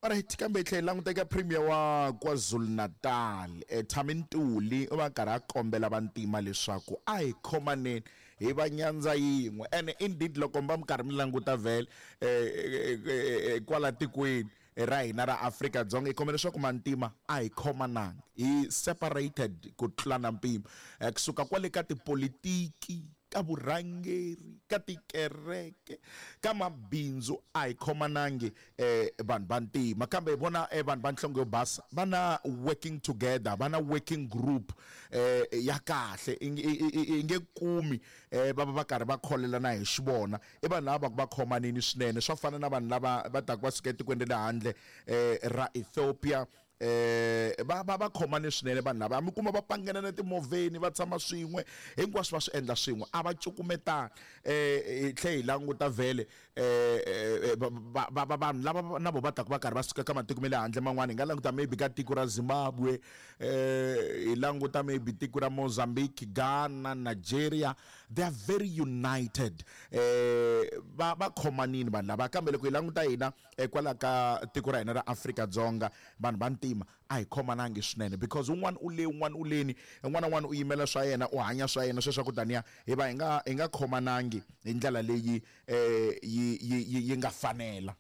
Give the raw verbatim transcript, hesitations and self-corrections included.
Alright, kambe hi tlhela hi languta eka Premier wa KwaZulu-Natal eh, Thami Ntuli u va karhi a kombela vantima leswaku a hi khomaneni hi va nyandza yin'we. Ene indeed loko mi va mi karhi mi languta vhele eh, eh, eh, eh, kwala tikweni ra hina ra Afrika-Dzonga, hi kombela leswaku mantima a hi khomananga, hi separated ku tlula na mpimo, eh, kusuka kwale ka tipolitiki, ka vurhangeri, ka tikereke, ka mabindzu, a hi khomanangi eh, vanhu va ntima. Kambe hi vona eh, vanhu va nhlonge yo basa va na working together, va na working group eh, ya kahle. I nge- i- i- i nge kumi eh, va va va karhi va kholelana hi xivona. I vanhu lava va ku va khomanini swinene, swa fana na vanhu lava va taka va suka etikweni ra le handle eh, ra Ethiopia. eh va va va khomane swinene vanhu lava, mi kuma va pangena na timovheni, va tshama swin'we, hinkwaswo va swi endla swin'we, a va cukumetani. eh hi tlhe hi languta vhele eh, eh, va va va vanhu lava na vo va taka va karhi va suka ka matiko ma le handle man'wana. Hi nga languta maybe ka tiko ra Zimbabwe, eh hi languta maybe tiko ra Mozambique, Ghana, Nigeria, they are very united, eh va va khomanini vanhu lava. Kambe loko hi languta hina eh, kwala ka tiko ra hina ra Afrika-Dzonga, vanhu va ntima a hi khomanangi swinene, because un'wana u le, un'wana u leni, un'wana na un'wana u yimela swa yena, u hanya swa yena. Sweswo ku taniya hi va hi nga hi nga khomanangi hi ndlela leyi eh yi yi yi nga fanela.